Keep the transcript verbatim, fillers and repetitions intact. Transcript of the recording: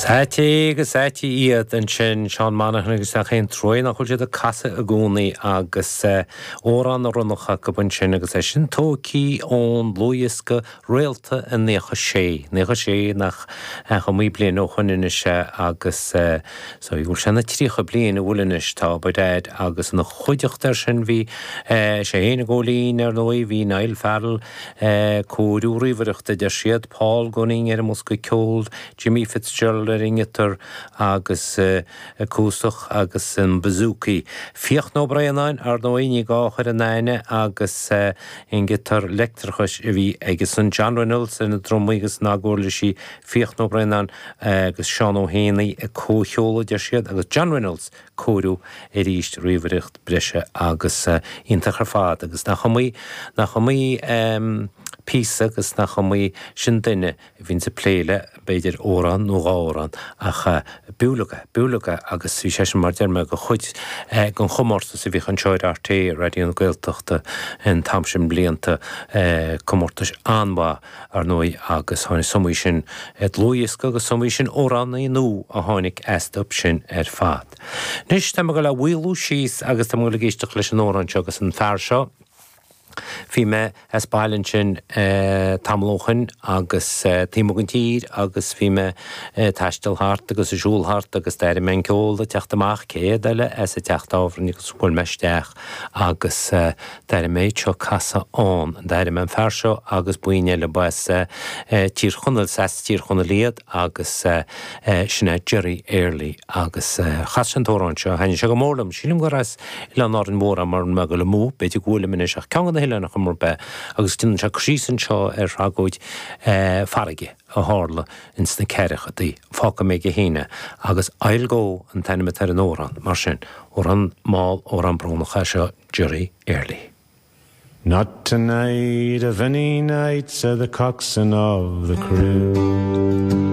Is ait agus ait iad ansin Seán Monaghan agus nach aon trua nach bhfuil siad ag casadh i gcónaí agus amhrán oiriúnach acu ansin agus é sin tógtha ón dlúthdhiosca Réalta i naocha sé, naocha sé nach iomaí bliain ó shoin anois agus so bhfuil sé na tríocha bliain a bhfuil anois tá Daid agus ina chuideachta air sin bhí sé féin ag Góilín ar ndóigh bhí Niall Farrell cóiriú ríomhaireachta deir siad Paul Gunning ar an mbosca ceoil Jimmy Fitzgerald ar an ngiotár agus acústach agus an bouzouki. Fiachna Ó Braonáin ar ndóigh ní gá a chur in aithne agus an giotár leictreachais a bhí aige san John Reynolds ar na drumaí agus na huirlisí Fiachna Ó Braonáin agus Seán Ó hÉanaí ag comhcheoladh deir siad agus John Reynolds cóiriú arís ríomhaireacht breise agus iontach ar fad agus nach iomaí nach iomaí píosa agus nach iomaí sin duine a bhíonn ag plé le b'fhéidir amhrán nó dhá amhrán ach b'fhiú b'fhiú agus bhí sé sin mar deir mé de chuid den chomórtas a bhíodh anseo ar RTÉ Raidió na Gaeltachta an t-am sin blianta comórtais an-mhaith ar ndóigh agus tháinig is iomaí sin dlúthdhiosca agus is iomaí sin amhránaí nua a tháinig astu sin ar fad. Anois tá mé ag dul a mhaolú síos agus tá mé ag éisteacht leis an amhrán seo agus an fear seo Bhí mé as baile ansin tamall ó shin agus taobh amuigh den tír agus bhí mé ag taisteal thart agus ag siúl thart agus d'airigh mé an ceol ag teacht amach céard eile as an teach tábhairne agus bhuail mé isteach agus d'airigh mé iad seo ag casadh ann. D'airigh mé an fear seo agus buíon eile ba as Tír Chonaill as Tír Chonaill iad agus sin é Jerry Early agus chas sé an t-amhrán seo thaitnigh sé go mór liom. Sílim gur as Oileán Árainn Mhór é mura mbeidh dul amú, b'fhéidir go bhfuilim anois ach ceann de na hoileáin ar chuma ar bith agus déanann sé cur síos anseo ar thragóid farraige a tharla ins na ceathrachaidí. Fágfaidh mé aige féin é agus I'll Go an t-ainm atá ar an amhrán mar sin amhrán mall amhrán brónach é seo Jerry Early. Not tonight of any night, said the coxswain of the crew.